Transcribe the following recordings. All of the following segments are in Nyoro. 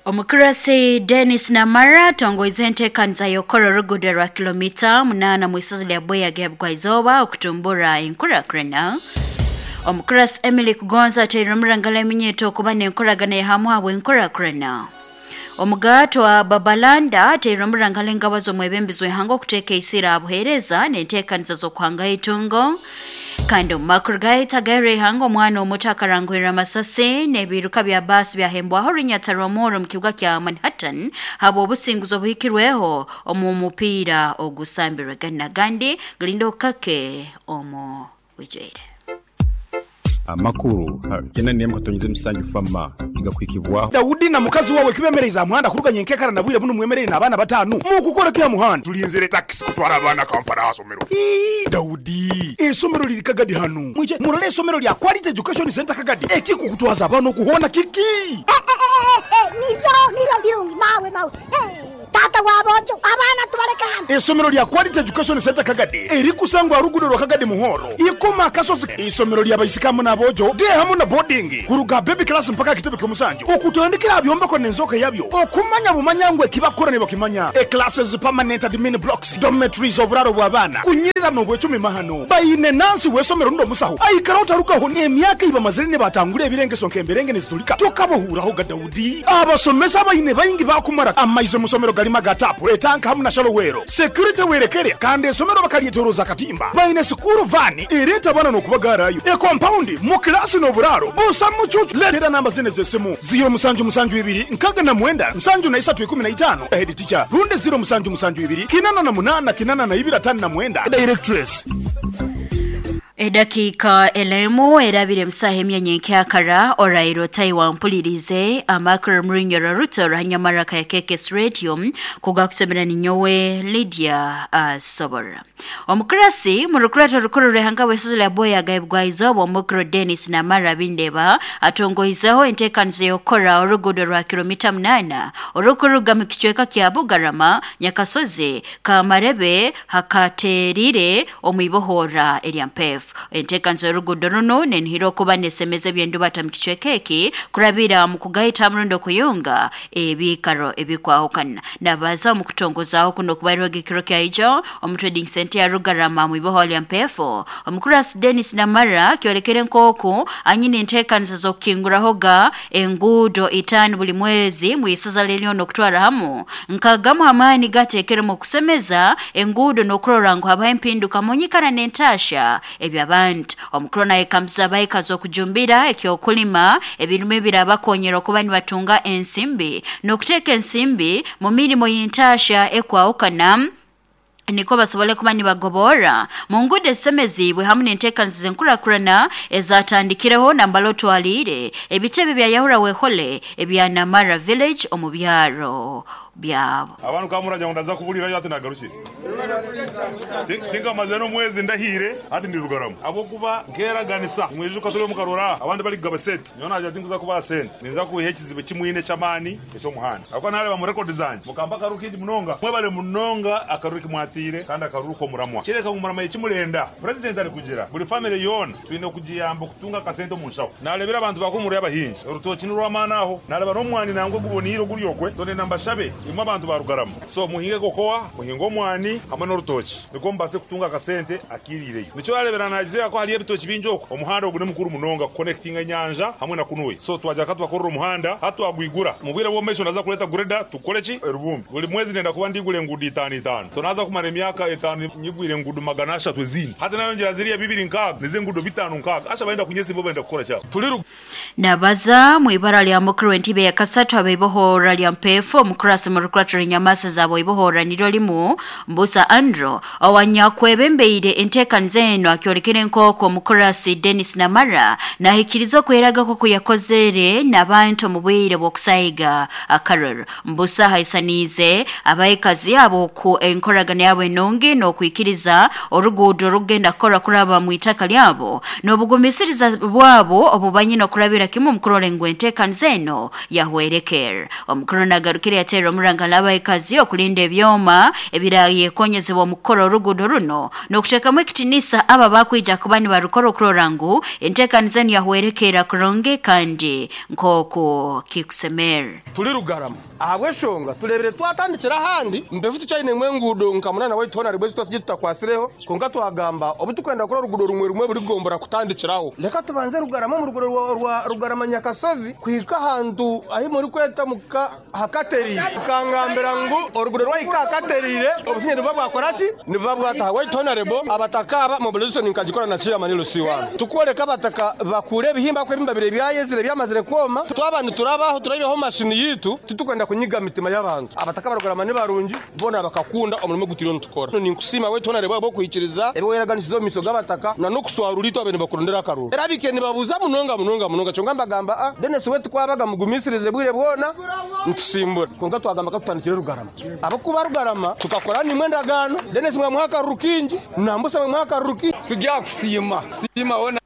Omukurasi Dennis Namara atongoize enteekaniza y'okukora oruguudo rwa kilomita 8 mu isozi lya Bweya Gebugwaizooba okutumbura enkurakurana. Omukurasi Emily Kugonza ateire omurangala eminyeto okuba n'enkoragana ehamu habw'enkurakurana. Omugaatwa Babalanda ateire omurangala engabo z'omwebembezi w'ihanga okuteeka eisira aha buheereza n'enteekaniza z'okuhanga itungo. Kandi omu makuru gaitu agairwe ihanga, omwana omuto akaranguhirra amasasi n'ebiiruka bya baasi byahembwaho orunyata rw'omurro omu kibuga kya Manhattan habw'obusinguzi obuhikirweho omu mupiira ogusambirwe. Ganu n'agandi galinda okukake omu bwijwire. Amakuru ha kyenda n'emu katonyeza emisanju FAMA nigakuhikibwaho. Daudi na mukazi wawe kibemereize aha muhanda kuruga nyenkekara na bwire bunu mwemereire n'abaana batanu. Mukukora ki aha muhanda? Tulinzire takisi kutwara abaana Kampala aha somero. Ii, Daudi, eisomero liri Kagadi hanu. Mwije murole eisomero lya Quality Education Centre Kagadi. Ekikukutwaza abaana oku hoona kiki? Nibyo, nibyo birungi mawe, mawe. Taata w'aboojo, abaana tubaleke hanu. Eisomero lya Quality Education Centre Kagadi erikusangwa aha ruguudo rwa Kagadi Muhoro, Ikoma Akasozi. Eisomero lya baisiki hamu n'aboojo, day hamu na boarding, kuruga aha baby class mpaka aha kitebe ky'omusanju, okutandikira aha byombeko n'enzooka yabyo, okumanya bumanya ngu eki bakukora nibakimanya, e classes, permanent admin blocks, dormitories, oburaaro bw'abaana, kunyirira n'obwecumi mahano. Baine nansi w'eisomero rundi omusaho aikara otarugaho n'emyaka ei bamazire nibatangura ebirengeso nk'emberenge nizitulika tokabahuurahoga. Daudi. Abasomesa abaine baingi baakumara amaizi omu somero galimu aga taapu, etanka hamu na shallow well. Security werekere kandi esomero bakalyetoroza akatimba. Baine sikuuru vaani ereeta abaana n'okubagaarayo. Ekompaundi, mu kilaasi n'oburaaro busa mucuucu. Leetera namba zinu ez'esimu, ziiro musanju musanju ibiri nkaga na mwenda nsanju na isatu ikumi na itaano, Head teacher, rundi ziiro musanju musanju ibiri kinana na munaana kinana na ibiri atano na mwenda, Directress. Edakiika elemu erabire musaha emya nyenkyakara oraire otaiwa mpulirize amakuru murunyoro ruto ruhanyamaraka ya KKS Radio kugakusomera ninyowe Lydia Asobora. Omukurasi mu rukurato rukuru rw'ihanga bw'eisozi lya Boya agaibwa izooba omukuru Dennis Namara Bindeba atongoizeho enteekaniza y'okukora oruguudo rwa kilomita 8 orukuruga mu kicweka kya Bugarama Nyakasozi Kamarebe hakaterire omu ibohora erya Mpefu. Enteekaniza y'oruguudo runu nenihira okuba nesemeza ebyendubata mu kicweka eki kurabira mu kugaita murundi okuyunga ebiikaro ebikwahukana. Nabaza omu kutongozaho kuno okubairweho ekiro kya ijo omu trading center ya Rugarama mu ibohora lya Mpefu. Omukurasi Dennis Namara kyolekere nk'oku anyine enteekaniza z'okukingurahoga enguudo 5 buli mwezi mu isaza lyenyono okutwara hamu nkagamu amaani gateekeremu okusemeza enguudo n'okurora ngu habaho empinduka mu nyikara n'entaasha eby'abantu. Omukuru nayekambiza abaikazi okujumbira ekyokulima ebirimu ebirabakonyera okuba nibatunga ensimbi n'okuteeka ensimbi mu mirimo y'entaasha ekwahukana niko basobole kuba nibagobora mu nguudo ezisemeziibwe hamu n'enteekaniza z'enkurakurana ezatandikireho nambala otwaliire ebitebe bya Yahura Wehole ebya Namara Village omu byaro byabo. Abantu kamuragira ngu ndaza kuburirayo hati nagarukire. Tinkamaze n'omwezi ndahiire hati ndi Rugarama. Ahabw'okuba nkeraganisa nimwijuka turi omu karora aha abandi bari kugaba sente. Nyowe nagira tinkuza kubaha sente ninza kwiha ekizibu eki mwine eky'amaani eky'omuhanda. Ahabw'okuba nareeba mu rekodi zangye mukamba akaruru kaingi munonga. Mwebare munonga akaruru eki mwatiire kandi akaruru k'omuramwa. Kireka ngu muramanye eki murenda. Purezidenti ari kugira buri famire yoona twine kugiyamba okutunga akasente omu nshaho. Narebire abantu ba Humura y'abahingi orutookye nirw'amaani aho. Nareba n'omwani nangwa oguboniire oguri okwe. So nenda mbashabe imwe abantu ba Rugarama. So muhinge kokoa, muhinge omwani hamwe n'orutookye nikwo mubaase kutunga akasente akairiireyo. Nikyo orareebera naagizire ku hariyo ebitookye bingi okwo. Omuhanda ogu ni mukuru munonga kukonekitinga enyanja hamwe na Kunuwe. So twagira ka tubakorere omuhanda hati twagwigura. Omu bwire bw'omu maisho ndaza kureeta greda tukore ki? Erubumbi. Buri mwezi nenda kuba ndigura enguudo itaano itaano. So naaza kumara emyaka etaano nyigwire enguudo 300 ezindi. Hati nayongyera ziriya bibiri nkaaga nizo enguudo bitaano nkaaga. Asha barenda kunyesimba bo barenda kukora ki abo? Turi. Nabaza mu ibara lya mukuru w'entibe ya kasatu abaibohora lya Mpefu omukurasi mu rukurato rw'enyamasa zabo ibohora niryo limu Mbusa Andrew owanyakwebembeire enteekaniza eno akyolekere nk'oku omukurasi Dennis Namara nahikiriza okweraga koko yakozere n'abantu omu bwire bw'okusaiga akaruru. Mbusa haisaniize abaikazi abo ku enkoragana yabo enungi n'okwikiriza oruguudo orukugenda kukora kuraba mu itaka lyabo n'obugumisiriza bwabo obubanyine okurabira kimu omu kurora ngu enteekaniza eno yahwerekera. Omukuru nagarukire yateera omuranga omurangala abaikazi okulinda ebyoma ebirayekonyezebwa mu kukora oruguudo runo n'okuteekamu ekitinisa aba bakwija kuba nibarukora okurora ngu enteekaniza niyahwerekeera kurungi kandi nk'oku kikusemera. Turi Rugarama ahabw'eshonga turebire twatandikira ahandi mpefu tukyainemu enguudo nka munana waitu hoona ribwe ezitwasigiire tutakwasireho kwonka twagamba obu tukwenda kukora oruguudo rumwe rumwe buri gombora kutandikiraho reka tubanze Rugarama omu ruguudo rwa Rugarama Nyakasozi kuhika ahantu ahi murikweta muka hakateriire mukangambira ngu oruguudo rwahika ahakateriire obusinge nibuba bwakora ki nibuba bwataha waitu hoona rebo abataka aba mobilization nkagikora na chairman LC wange tukworeka abataka bakure ebihimba ahabw'okuba ebihimba bire byayezire byamazire kwoma twaba niturabaho turabihaho mashini yitu titukwenda kunyiga mitima y'abantu abataka ba Rugarama ni barungi boona bakakunda omurimo ogu turiyo nitukora ninkusiima waitu hoona rebo ahabw'okuhikiriza ebi weraganisize omu maisho g'abataka na n'okuswarura itwe abaire nibakurondera akaruru era abaikaire nibabuuza munonga munonga munonga kyonka mbagamba a Denis we tikwabaga mugumisirize bwire bwona nitusimbura kwonka twagamba ka tutandikire Rugarama ahabw'okuba Rugarama tukakora nimwe endagaano Denis mwamuha akaruru kingi Nambusa mwamuha akaruru kingi Turyakusiima siima hoona.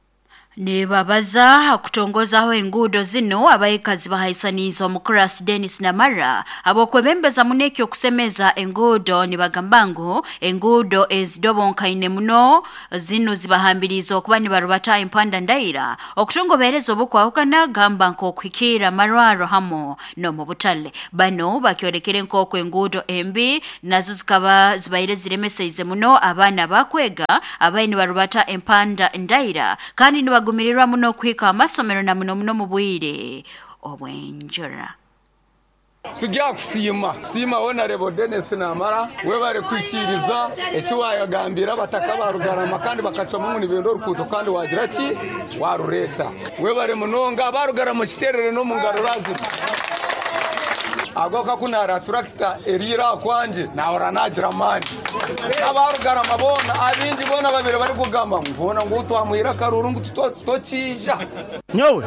Nibabaza kutongozaho enguudo zino abaikazi bahaisaniize omukurasi Dennis Namara abokwebembeza muno ekyokusemeza enguudo nibagamba ngu enguudo ezidobonkaine muno zino zibahambiriize okuba nibarubata empanda ndaira okutungobereza obukwahukana gamba nk'okuhikiira amarwaro hamu n'omu butale. Bano bakyolekere nk'oku enguudo embi nazo zikaba zibaire ziremeseize muno abaana bakwega abaine nibarubata empanda ndaira kandi nibagumirirwa muno okuhika amasomero na muno muno mu bwire obw'enjura. Turyakusiima siima hoona rebo Denis Namara webare kwikiriza eki wayagambira abataka ba Rugarama kandi bakacwamu ngu nibenda orukuuto kandi wagira ki warureeta webare munonga aba Rugarama okiterere n'omu ngaro razima ahabw'okuba ku naara turakita eriire aha kwangye naahurira naagira amaani n'aba Rugarama boona abingi boona babire barikugamba ngu hoona ngu twamuhire akaruru ngu tokiija. Nyowe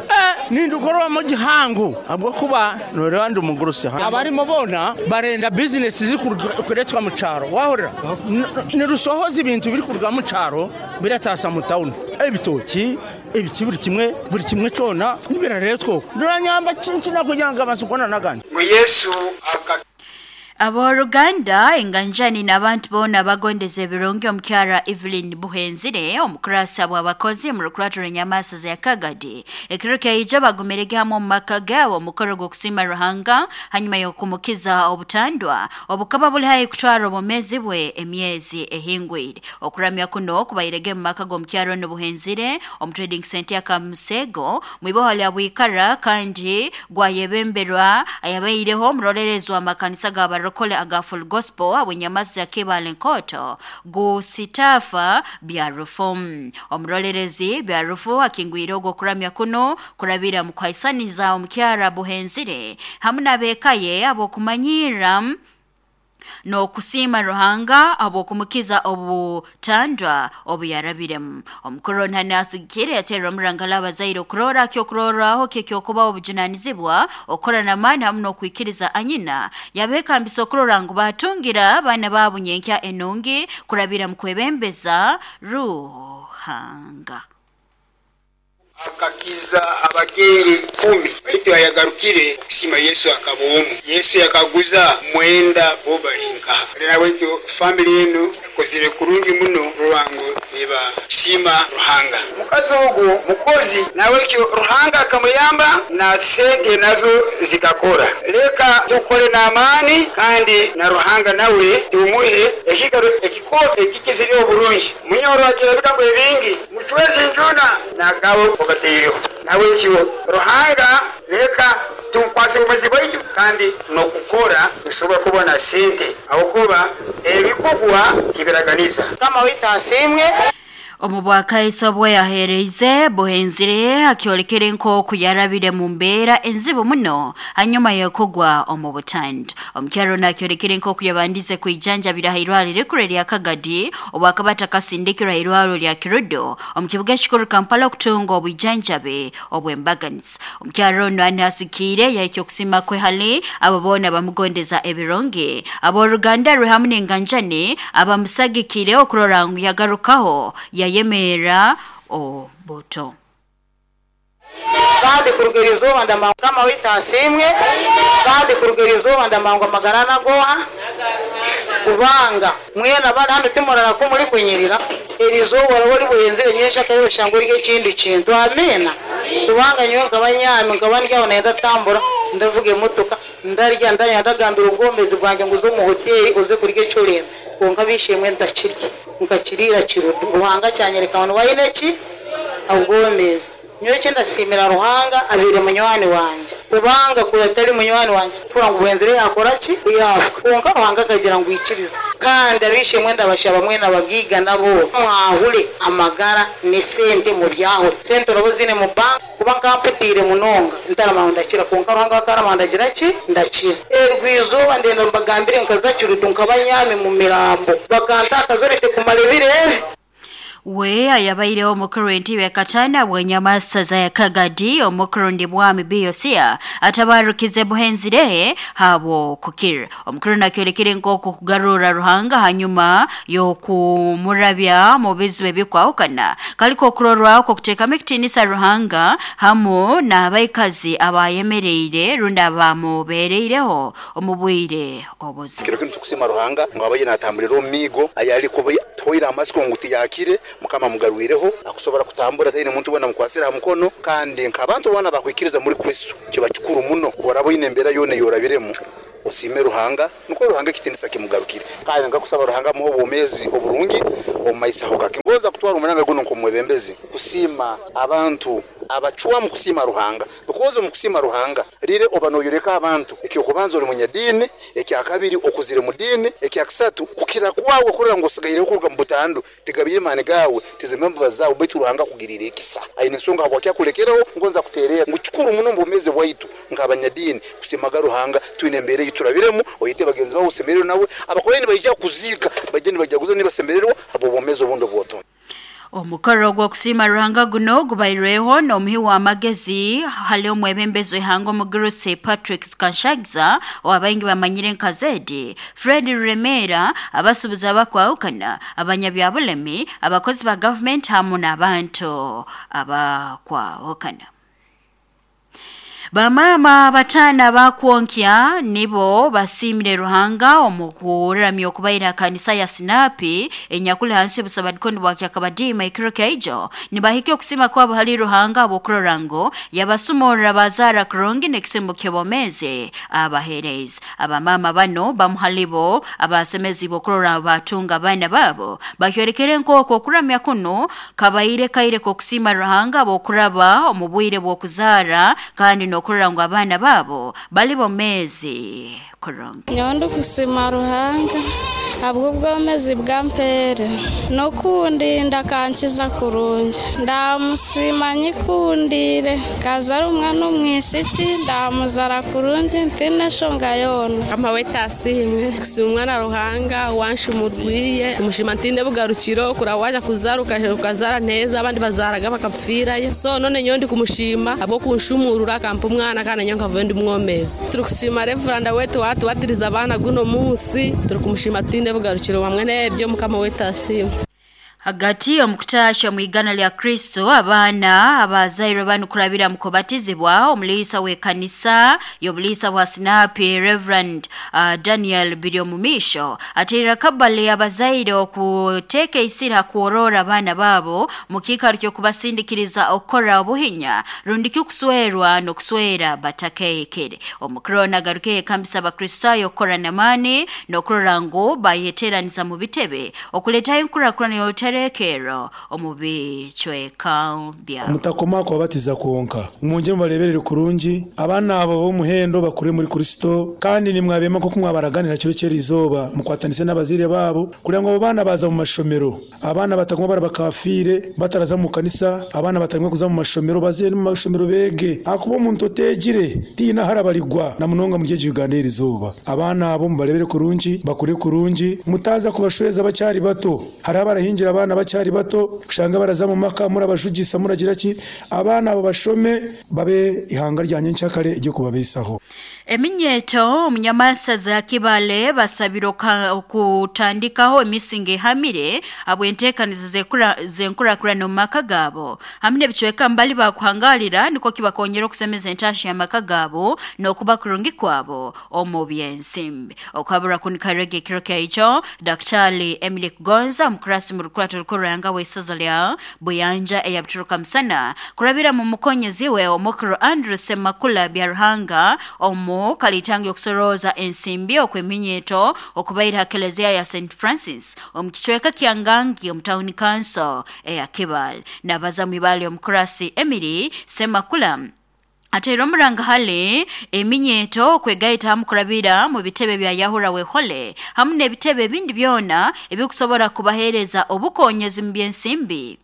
nindukorwamu gihango ahabw'okuba noreeba ndi mugurusi abarimo boona barenda bizinesi zirikureetwa mu kyaro wahurira nirusohoza ebintu birikuruga mu kyaro birataasa mu tawuni ebitoki ebiki buri kimwe kyona nibirareetwa okwo niranyamba kinkina kugira ngu amasiko n'agandi. Ngu Yesu Abooluganda enganjani n'abantu boona bagondeza ebirungi omukyara Evelyn Buhenzire omukurasa bw'abakozi mu rukurato rw'enyamaasa za Kagadi ekiro kyaija bagumirege hamwe omu maka gaabo omukoro gw'okusiima Ruhanga hanyuma y'okumukiza obutandwa obukaba buli haihi kutwara obwomeezi bwe emyezi ehingwire. Okuramya kuno kubairege mu maka g'omukyara onu Buhenzire omu trading center ya Kamusego mwiboha lya Bwikara kandi gwayebemberwa ayabaireho omurolerezi w'amakanisa g'abarokole aga Full Gospel abwenyamazi ya Kibale Nkoto gusitafa byarufu. Omurolerezi byarufu akingwire ogwo kuramya kuno kurabira mu kuhaisaniza omukyara Buhenzire hamwe n'abekaye abokumanyira n'okusiima Ruhanga abokumukiza obutandwa obuyarabiremu. Omukuru ntane asigikire yateerwa omurangala abazaire okurora kyokurorraho kyekyokuba obujunanizibwa okukora n'amaani hamu n'okwikiriza anyina yabeekambisa okurora ngu batungira abaana baabo nyenkya enungi kurabira mu kwebembeza Ruhanga. Akakiza abagenge 10 baitu ayagarukire okusima Yesu akaba omu. Yesu yakaguza mwenda bo bali nkaha. Rero waitu family yenu ekozire kurungi muno rwango nibashima Ruhanga. Mukazi ogwo mukozi nawekyo Ruhanga akamuyamba na sente nazo zikakora. Leka tukore n'amaani kandi na Ruhanga nawe tumuhe ekikaro ekikooto ekikizire oburungi. Munyoro agira ebigambo ebingi mucwezi njuna nagawe ogateireho. Nawekyo Ruhanga leka tukwase obumazi bwaitu kandi n'okukora tusobora kubona sente ahabwokuba ebikugwa tibiraganiza. Kama waitu asiimwe. Omu bwakaiso bwe yahereize Buhenzire akyolekere nk'oku yarabire mu mbeera enzibu muno hanyuma y'okugwa omu butanda. Omukyaro nakyolekere nk'oku yabandize kwijanjabira aha irwariro rikuru erya Kagadi obwakaba atakasindikirwa aha irwariro rya Kirudo omu kibuga ekikuru Kampala okutunga obwijanjabi obw'embaganiza. Omukyaro ono anasikiire yahikya okusiima kwe hali abo boona bamugondeza ebirungi abooluganda rwe hamu n'enganjani abamusagikire okurora ngu yagarukaho yayemera obuto. Kandi kuruga erizooba ndamanya Mukama waitu asiimwe, kandi kuruga erizooba ndamanya amagara nagoha kubanga mwena bari hano timurara ko muri kunyirira erizooba oraba ori bwenzire nyenshaka yoshanga ori ekindi kintu. Amina. Kubanga nyowe nkaba nyami, nkaba ndyaho nenda tambura, ndavuga emotoka, ndarya, ndanywa, ndagambira obwomezi bwange nguze omu hoteli uze kurya eky'orenda. Kwonka bishimwe ndakirya, nkakiriira kirudu. Ruhanga kyanyereka ngu waine ki? Obwomezi. Nyowe eki ndasiimira Ruhanga abeire munywani wangye. Kubanga kuri atari munywani wangye, tura ngu bwenzire yakora ki? Yafa. Kwonka Ruhanga akagira ngu ikiriza. Kandi abishimwe ndabashaba mwena abagiiga nabo mwahure amagara n'esente mubyahure. Sente oraba oziine mu banka, kuba nkamputiire munonga ntaramanya ngu ndakira, kwonka Ruhanga akaramanya ndagira ki? Ndakira. Erwizooba ndenda mbagambire nkaza Kirudu nkaba nyami mu mirambo, bakantakaza orete kumara ebiro ebi. We ayabaireho omukuru w'entebe katana bw'enyamasaza ya Kagadi omukuru ndi bwami Biyosia atabarukize buhenzire habo kukira. Omukuru nakyolekere nk'oku kugarura Ruhanga hanyuma y'okumurabya mu bizibu ebikwahukana kaliko okurorwaho okuteekamu ekitiinisa Ruhanga hamu n'abaikazi abayemereire rundi abamubeereireho omu bwire obuzibu. Kiro kinu tukusima Ruhanga ngu abaye natambulira omu miigo ayali kuba toira amasiko ngu tiyakire Mukama amugarwireho akusobora kutambura taine muntu wena amukwasire aha mukono. Kandi nk'abantu boona bakwikiriza muri Kristo kiba kikuru muno oraba oine embeera yoona eyorabiremu osiime Ruhanga nukwo Ruhanga ekitiinisa kimugarukire. Kandi nkakusaba Ruhanga amuhe obwomeezi oburungi omu maiso aho gake. Ngoza kutwara omuranga guno nk'omwebembezi kusiima abantu abacwamu kusiima Ruhanga, because omu kusiima Ruhanga rire oba noyoreka abantu ekyokubanza ori munyadiini, ekyakabiri okuzire mu diini, ekyakisatu kukira kwawe kurora ngu osigaireho kuruga mu butandu tigabire maani gawe tizime embabazi zawe, baitu Ruhanga akugirire ekisa aine ensonga habwaki akulekereho. Ngonza kuterera ngu kikuru muno omu bwomeezi bwaitu nk'abanyadiini kusiimaga Ruhanga twine embeera ei turabiremu. Oyete bagenzi bawe osemererwe nawe, abakorayo nibaija kuziika baije nibajaguza nibasemererwa habw'obwomeezi obundi obwotonde. Omukoro gw'okusiima Ruhanga guno gubairweho n'omuhi w'amagezi hali omwebembezi w'ihanga omugurusi Patrick Kanshagiza owabaingi bamanyire nka Zedi, Fred Ruremera, abasuubuzi abakwahukana, abanyabyabulemi, abakozi ba gavumenti hamu n'abantu abakwahukana. Bamaama bataano abakwonkya nibo basiimire Ruhanga omu kuramya okubaira kanisa ya Sinapi enyakuli hansi y'obusabadikoni bwa Kyakabadiima ekiro kyaijo nibahika okusiima kwabo hali Ruhanga habw'okurora ngu yabasumurra bazaara kurungi n'ekisembo ky'obwomeezi abaheereza. Abamaama bano bamu halibo abasemezibwe okurora batunga abaana baabo bakyorekere nk'oku okuramya kunu kabaire kaire k'okusiima Ruhanga habw'okuraba omu bwire bw'okuzaara kandi n'okurora ngu abaana baabo bali bomeezi kurungi. Nyowe ndikusima Ruhanga ahabw'obwomezi bwampeere n'okundinda akankiza kurungi. Ndamusima nyikundiire nkazara omwana omwishiki ndamuzara kurungi ntiine nshonga yoona. Mukama waitu asiimwe kusiima omwana Ruhanga wanshumurwiye mushima ntiine bugarukiro kura waja kuzara ukazara neza abandi bazaraga bakapfirayo, so none nyowe ndikumushima ahabw'okunshumurura akampa omwana kandi nyowe nkavuyo ndi mwomezi. Turikushima Reveranda wetu watubatiriza abaana guno munsi, turikumushima tutiine bugarukiro hamwe n'ebyo Mukama waitu asiimwe. Hagati omukutaasha mu igana lya Kristo abaana abazairwe banu kurabira mu kubatizibwa omuliisa w'ekanisa y'obuliisa bwa Sinapi Reverend Daniel Biryomumisho ateerera kabale abazaire okuteeka eisira kworora abaana baabo mu kiikaro ky'okubasindikiriza okukora obuhinya rundi ky'okuswerwa n'okuswera batakehekere. Omukuru ono agaruke ekambisa Abakristaayo okukora n'amaani n'okurora ngu bayeteeraniza mu bitebe okuleetaho enkurakurana y'obutereekerro omu bicweka byabo. Mutakoma kubabatiza kwonka, mwongere mubareberere kurungi abaana abo b'omuhendo bakure muri Kristo, kandi nimwabema nk'oku mwabaraganira kiro ky'erizooba mukwatanise n'abazaire baabo kugira ngu abo baana baza mu mashomero, abaana bataguma bari bakafiire bataraza mu kanisa, abaana batarimwe kuza mu mashomero baze mu mashomero bege, ahakuba omuntu oteegire tiina harabarigwa na munonga muri egi Uganda y'erizooba. Abaana abo mubarebere kurungi bakure kurungi, mutaza kubashweza bakyari bato. Hariho abarahingira abaana bakyari bato kushanga baraza mu maka murabajugisa muragira ki, abaana abo bashome babe ihanga rya nyenkyakare eryo kubabeesaho. Eminyeto omunyamasasa za Kibale basabire okutandikaho emisingi ehamire habw'enteekaniza zenkurakurana omu maka gaabo hamwe n'ebicweka mbali bakuhangalira nikwo kibakongera okusemeza entaasha y'amaka gaabo n'okuba kurungi kwabo omu byensimbi. Okabura kunikarega ekiro kyaico Daktari Emily Kugonza omukurasi mu rukurato rukuru ruranga w'isaza lya Buyanja eya Buturuka Musana kurabira mu mukonyezi we omukuru Andrew Semakula Byaruhanga omu kalitangi okusoroza ensimbi okweminyeto okubaira ha kelezia ya St Francis omu kicweka kya Ngangi omu town council eya Kibale. Nabaza mu ibale omukurasi Emily Semakula ateera omuranga hali eminyeto okwegaita hamu kurabira mu bitebe bya Yahura Wehole hamu n'ebitebe ebindi byona ebikusobora kubaheereza obukonyezi mu byensimbi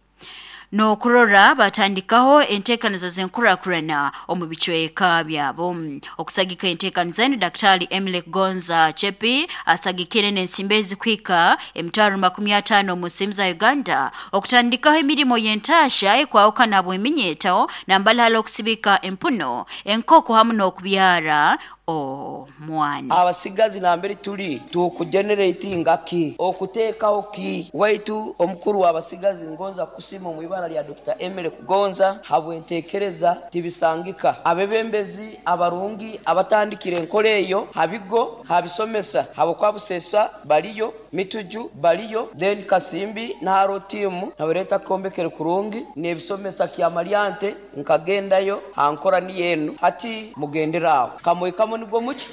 n'okurora batandikaho enteekaniza z'enkurakurana omu bicweka byabo. Okusagika enteekaniza enu Daktari Emily Gonza Chepi asagikire n'ensimbi ezikuhika 250,000 omu nsimbi za Uganda okutandikaho emirimo y'entaasha ekwahukana bw'eminyeto nambali hali okusibika empuno enkoko hamu n'okubyara omwana. Abasigazi nambere tuli tukugeneratinga ki okuteekaho ki waitu omukuru w'abasigazi ngonza kusima omu ibara lya Dr. Emily Kugonza habwenteekereza tibisangika abebembezi abarungi abatandikire enkora eyo habigo habisomesa habwokwabusesa baliyo mituju baliyo then Kasimbi naharo tiimu nabareta kombekere kurungi n'ebisomesa kyamalyante nkagendayo hankora niyo enu hati mugenderaho kamwekamo nigwo muki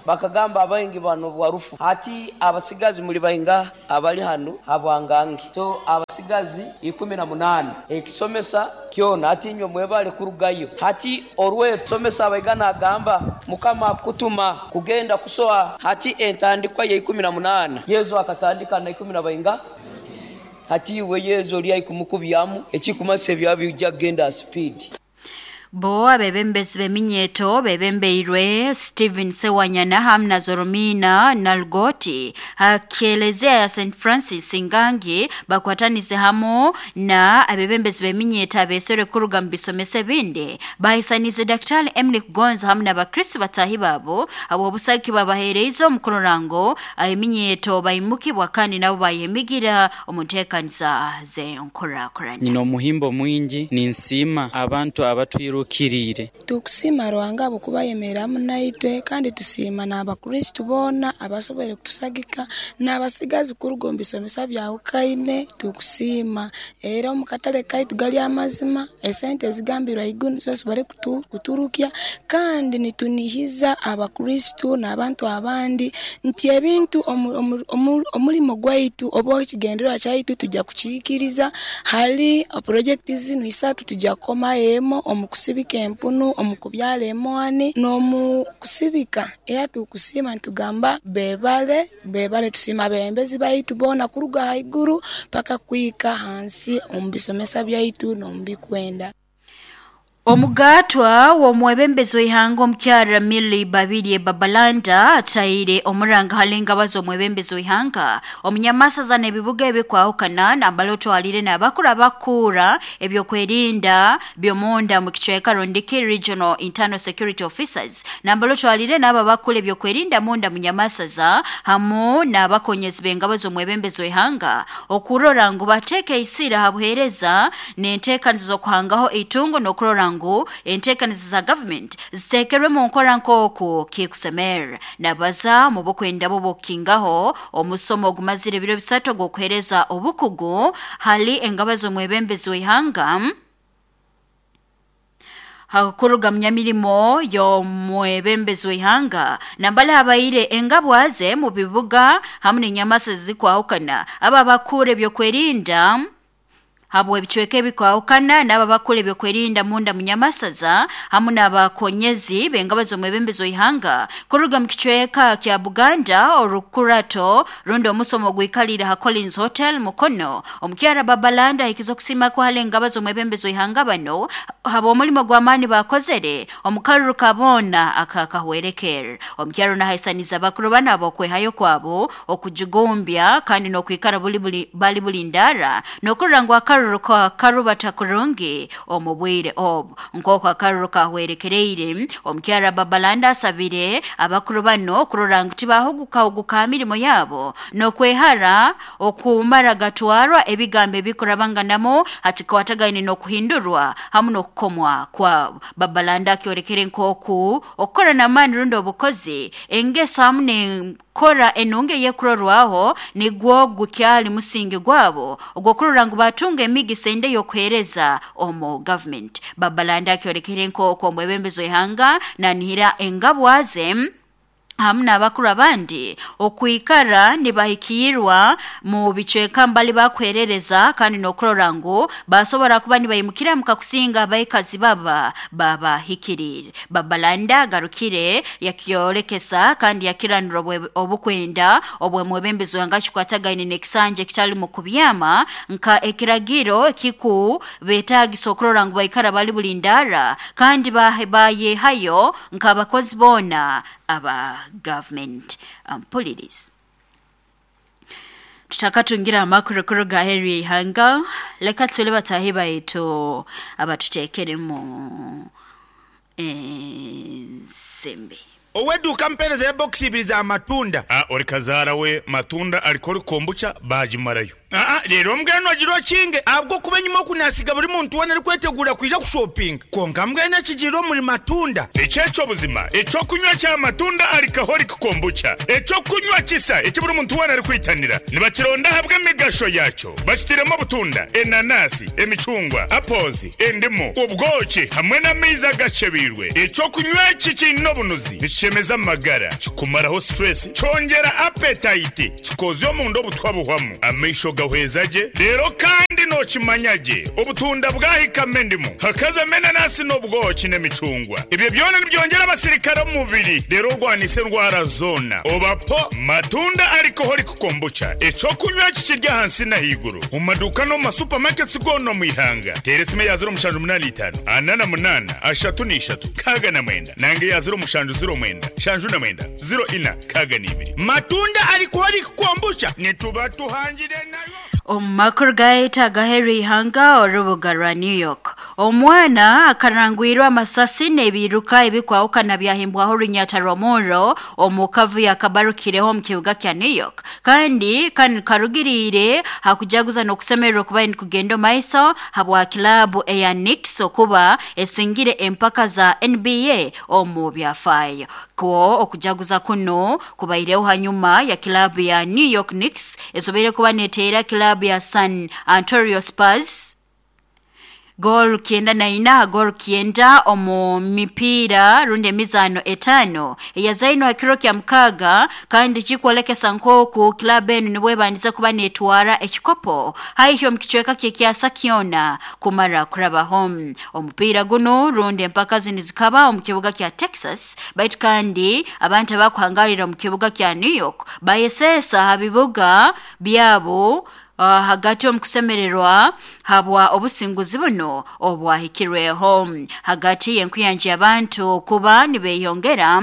bakagamba abaingi bano bwarufu hati abasigazi muli bainga abali hanu habwangangi so abasigazi 18 ekisomesa kyona hati inywe mwebale kurugayo hati orwesomesa abaigana agamba mukama kutuma kugenda kusoha hati entandikwa ya 18 Yesu akatandika na 10 na bainga hati iwe Yesu oli aikumukubyamu ekikumasa ebyabijja kugenda speed. Bo abebembezi b'eminyeto bebembeirwe Stephen Sewanyana hamu na Zoromina Nalgoti hakelezea ya St Francis Ngangi bakwatanise hamu na abebembezi b'eminyeto abesore kuruga mu bisomesa ebindi bahisanize Daktari Emily Kugonza hamu n'abakristo batahi babo abo obusaki babaheereize omukurorango eminyeto baimukibwa kandi nabo bayemigira omu nteekaniza z'enkurakurana. Nyina omuhimbo mwingi ninsiima abantu abatwiru kirire. Tukusima Ruhanga ahabw'okubayemereramu naitwe kandi tusiima n'abakristo boona abasoboire kutusagika n'abasigazi kuruga omu bisomesa byahukaine tukusiima era omu katale kaitu gali amazima esente ezigambirwe haiguru nizo zisobore kuturukya kandi nitunihiza abakristo n'abantu abandi nti ebintu omulimo gwaitu oba ekigendererwa kyaitu tujja kukihikiriza hali projekiti zinu isatu tujja kukomayo emo omu kusibika empunu, omu kubyala emwani n'omu kusibika era tukusima nitugamba bebale bebale tusima abebembezi baitu boona kuruga haiguru paka kuhika hansi omu bisomesa byaitu n'omu bikwenda. Omugatwa w'omwebembezi w'ihanga omukyara Milly Babirye Babalanda ataire omuranga hali engabazo omwebembezi w'ihanga omunyamasaza n'ebibuga ebikwahukana nambala otwalire n'abakuru abakuura ebyokwerinda by'omunda mu kicweka Rondiki Regional Internal Security Officers nambala otwalire n'abo abakura ebyokwerinda munda munyamasaza hamu n'abakonyezi b'engabazo omwebembezi w'ihanga okurora ngu bateeke isira ha buheereza n'enteekaniza z'okuhangaho eitungo n'okurora ngu enteekaniza za government ziteekerwe mu nkora nk'oku kikusemera. Nabaza mu bukwenda bo bukingaho omusomo ogumazire ebiro bisatu ogw'okuheereza obukugu hali engaba z'omwebembezi w'ihanga hakuruga munyamirimo y'omwebembezi w'ihanga nambala habaire engabwaze mu bibuga hamu n'enyamasa zikwahukana aba bakura ebyokwerinda habwe ebicweka ebikwahukana n'aba bakora ebyokwerinda munda munyamasaza hamu n'abakonyezi b'engabo z'omwebembezi w'ihanga kuruga mu kicweka kya Buganda orukurato rundi omusomo ogwikalire ha Collins Hotel Mukono. Omukyara Babalanda ahikiza okusima kwa hali engabo z'omwebembezi w'ihanga bano haba omulimo gw'amaani bakozere omukaruru kabona akakahwerekera. Omukyara nahaisaniza abakuru bano ab'okwehayo kwabo okujugumbya kandi n'okwikara bali buli ndara n'okurora ngu akaruru karubata kurungi omu bwire obu. Nk'oku akaruru kahwerekereire, omukyara Babalanda asabire abakuru bano kurora ngu tibahugukahuguka mirimo yabo n'okwehara okumara gatwarwa ebigambo ebikurabanganamu hatikwatagaine n'okuhindurwa hamu n'okukomwa kwabo. Babalanda akyorekere nk'oku okukora n'amaani rundi obukozi engeso hamu n'enkora enungi eyekurorwaho nigwo gukyali musingi gwabo ogw'okurora ngu batunga emigisa ende y'okuheereza omu gavumenti. Babalanda akyorekere nk'oku omwebembezi w'ihanga nanihira engabwaze hamu n'abakuru abandi okwikara nibahikiirwa mu bicweka mbali bakuherereza kandi n'okurora ngu basobora kuba nibaimukira mukakusinga abaikazi baba babahikiriire. Babalanda agarukire yakyorekesa kandi yakiranura obukwenda obw'omwebembezi wanga kikwatagaine n'ekisanja ekitali mu kubyama nka ekiragiro ekiku beetagisa okurora ngu baikara bali bulindara kandi bayehayo nk'abakozi boona aba government police. Tutakatungira amakuru kuruga aheeru y'ihanga, leka tule batahi baitu abatuteekeremu ensimbi. Ow'eduuka mpeereza ebokisi ibiri za matunda. A Ori kazaara we matunda arikori kombucha baagimarayo. Aa Reero mbwenu ogira okinge ahabw'okuba enyima oku naasiga buri muntu weena arikweteguura kwija kushopinga. Kwonka mbwenu ekigiire omuri matunda. Eki eky'obuzima, eky'okunywa kya matunda alcoholic kombucha, eky'okunywa kisa eki buri muntu weena arikwitanira. Nibakironda ahabw'emigasho yaakyo. Bakitairemu obutunda, enanasi, emicungwa, apples, endimu, obwoki hamwe n'amaizi agakyebeirwe. Eky'okunywa eki kiine obunuzi, nikishemeza amagara, kikumaraho stress, kyongyera appetite, kikoozya omunda obutwa buhwamu, amaisho gahweza gye, reero kandi nookimanya gye obutunda bwahikamu endimu, hakazamu enanasi n'obwoki n'emicungwa. Ebyo byona nibyongyera abasirikare omu mubiri reero orwanise endwara zoona. Oba po Matunda Alcoholic Kombucha, eky'okunywa eki kiri ahansi n'ahaiguru omu maduuka n'omu ma supermarkets goona omu ihanga. Teera esimu eya 0785 48 33 69 nanga eya 0709 79 04 62. Matunda Alcoholic Kombucha nituba tuhangire nayo. Omu makuru gaitu agaheeru y'ihanga orubuga rwa New York, omwana akarangwirwe amasasi n'ebiiruka ebikwahukana byahimbwaho orunyata rw'omurro omu kavuyo akabarukireho omu kibuga kya New York. Kandi kanu karugiriire ha kujaguza n'okusemererwa okubaire nikugenda omu maiso habwa kilaabu eya Knicks okuba esingire empaka za NBA omu byafaayo. Kwo okujaguza kunu kubaireho hanyuma ya kilaabu ya New York Knicks esoboire kuba neteera kilaabu ya San Antonio Spurs goal 94 ha goal 9 omu mipiira rundi emizaano etaano eyazainwe ha kiro kya mukaaga, kandi kikwolekesa nk'oku kilaabu enu nibwo ebandize kuba neetwara ekikopo haihi omu kicweka ky'ekyasa kyona kumara kurabaho. Omupiira gunu rundi empaka zinu zikaba omu kibuga kya Texas, baitu kandi abantu abakuhangalira omu kibuga kya New York bayeseesa ha bibuga byabo hagati omu kusemererwa habwa obusinguzi buno obwahikirweho. Hagati y'enkuyanja y'abantu kuba nibeyongera,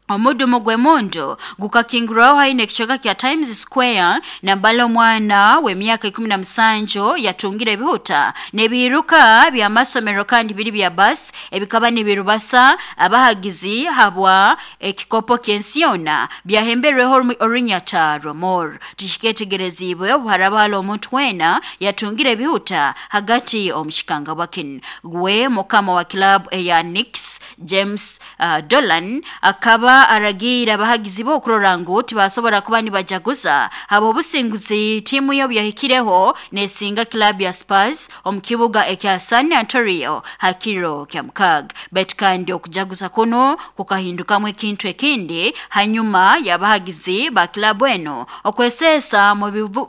omudumu gw'emundu gukakingurwaho haihi n'ekicweka kya Times Square nambala omwana w'emyaka 17 yatungire ebihuta n'ebiiruka by'amasomero kandi biri bya basi ebikaba nibirubasa abahagizi habwa ekikopo ky'ensi yoona byahemberweho orunyata rw'omurro. Tikiketegereziibwe obu haraba hali omuntu weena yatungire ebihuta hagati omu kikangabwa kinu. Gwe mukama wa kilaabu eya Knicks James Dolan akaba aragiire abahagizi be okurora ngu tibasobora kuba nibajaguza habw'obusinguzi tiimu ye obu yahikireho neesinga kilaabu ya Spurs omu kibuga ekya San Antonio ha kiro kya mukaaga. Baitu kandi okujaguza kunu kukahindukamu ekintu ekindi hanyuma y'abahagizi ba kilaabu enu okweseesa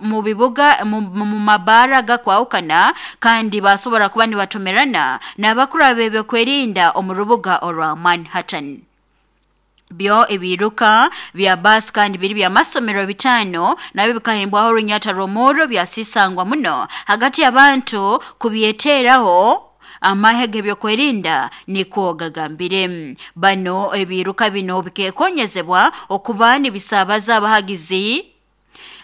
mu bibuga mu mabaara agakwahukana kandi basobora kuba nibatomerana n'abakuru ab'ebyokwerinda omu rubuga orwa Manhattan. Byo ebiiruka bya baasi kandi biri by'amasomero bitaano nabyo bikahimbwaho orunyata rw'omurro byasisangwa muno hagati y'abantu kubyeteeraho amahe g'ebyokwerinda nikwo gagambire. Bano ebiiruka bino bikekonyezebwa okuba nibisaabaza abahagizi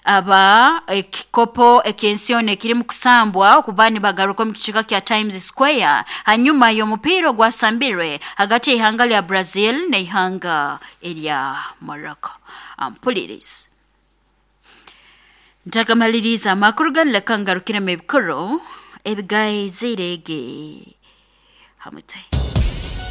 Aba ekikopo eky'ensi ekirimu kusambwa okuba nibagaruka omu kicweka kya Times Square hanyuma y'omupiira ogwasambirwe hagati y'ihanga lya Brazil n'ihanga erya Morocco. Ampulirizi ntakamaliriza amakuru ganu, leka ngarukiremu ebikuru ebigaizirege hamute.